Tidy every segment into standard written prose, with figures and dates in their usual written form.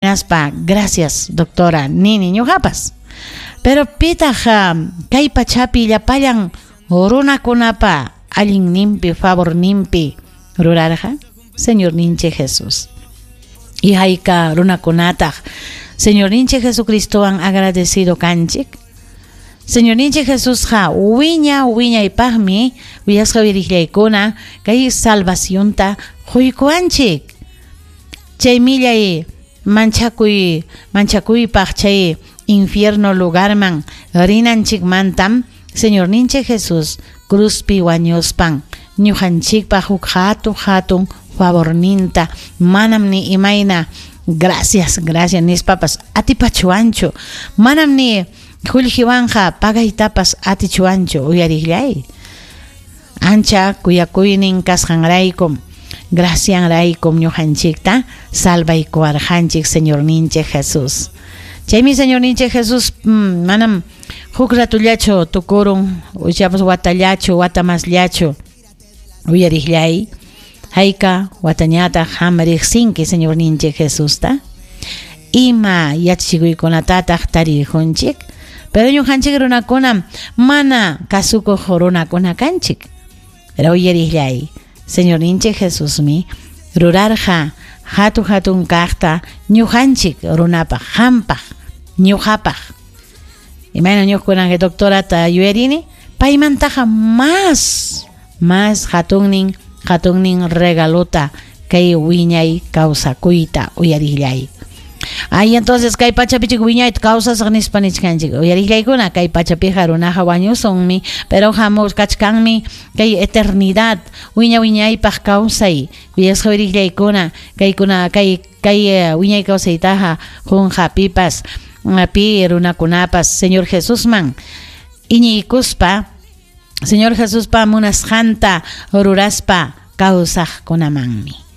Hinaspa gracias doctora nini ñuqapas. Pero pitaq kay pachapi llapallan runakunapa allinninpi favorninpi rurarqa? Señorninchik Jesús. Y hayka runakunataq Señorninchik Jesucristowan agradecido kanchik? Señorninchik Jesusqa wiña wiñaypaqmi willasqa uyariqllaykuna kay salvacionta quykuwanchik. Chay millay manchakuy manchakuypaq chay infierno lugarman rinanchikmantam Señorninchik Jesús cruzpi wañuspan ñuqanchikpaq huk hatun hatun favorninta manam ni imayna gracias gracias nispapas atipachuwanchu, manam ni qullqiwanqa pagaytapas atichuwanchu uyariqllay. Ancha kuyakuynin kasqanraykum, gracianraykum ñuqanchikta salvaykuwarqanchik Señorninchik Jesús. Chaymi Señorninchik Jesús manam huk ratullachu tukurun, ichapas watallachu, wata masllachu uyariqllay. Hayka watañataq qam riqsinki Señorninchik Jesusta? Ima yachachikuykunatataq tarirqunchik? Pero ñuqanchik runakunam mana kasukuq runakuna kanchik. Pero uyariqllay, Señorninchik Jesusmi rurarqa hatu hatun kaqta ñuqanchik runapaq, qampaq, ñuqapaq. Imayna ñuqkunan doctorata yuyarini, paymantaqa más, más hatunnin, hatunnin regalota kay wiñay kawsakuyta uyariqllay. Ay, entonces kay pachapichik wiñayta kawsasaq nispa nichkanchik. Uyariqllaykuna kay pachapiqa runaqa wañusunmi, pero hamuchkachkanmi kay eternidad wiña wiñaypaq kawsay. Kuyasqa uyariqllaykuna kaykuna kay kay wiñay kawsaytaqa qunqa pipas pi runakunapas Señor Jesusman iñiykuspa Señor Jesuspa munasqanta ruraspa kawsaqkunamanmi.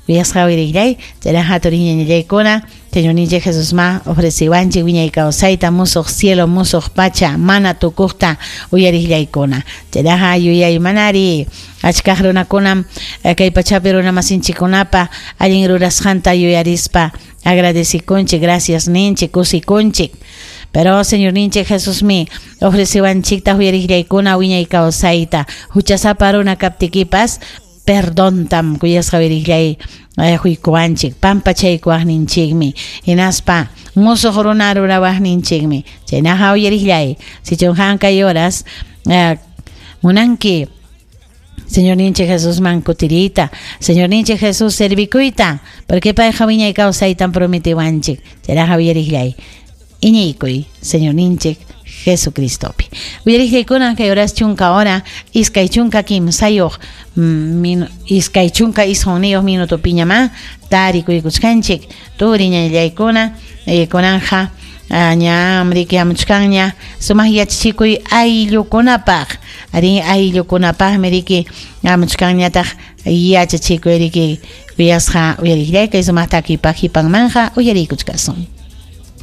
Kuyasqa uyariqllay, chayraqa turiñañallaykuna, Señorninchik Jesusma ofreciwanchik wiñay kawsayta musuq cielo, musuq pacha, mana tukuqta uyariqllaykuna. Chayraqa yuyaymanari achkaq runakunam kay pachapi runamasinchikkunapa allin rurasqanta yuyarispa agradecikunchik, gracias ninchik, kusikunchik. Pero Señorninchik Jesusmi ofreciwanchikta uyariqllaykuna wiñay kawsayta, huchasapa runa kaptikipas perdontam kuyasqa uyariqllay huykuwanchik, pampachaykuwaqninchikmi, hinaspa musuq runa rurawaqninchikmi. Chaynaqa uyariqllay, sichum qam kay horas munanki Señorninchik Jesusman kutiriyta, Señorninchik Jesús servikuyta, porque payqa wiñay kawsaytam prometiwanchik. Chayraqa uyariqllay, iñiykuy Señorninchik Jesucristopi. Uyariqllaykuna kay horas chunka hora, iskay chunka kimsayuq, 29 minutopiñamá tarikuykuchkanchik. Turiñallaykuna, kunanja ñam riki hamuchkanña sumaq yachachikuy ayllukunapaq. Ari ayllukunapaqmi riki hamuchkanñataq yachachikuy riki kuyasqa uyariqllay kay sumaq takipaq hipanmanja uyariykuchkasun.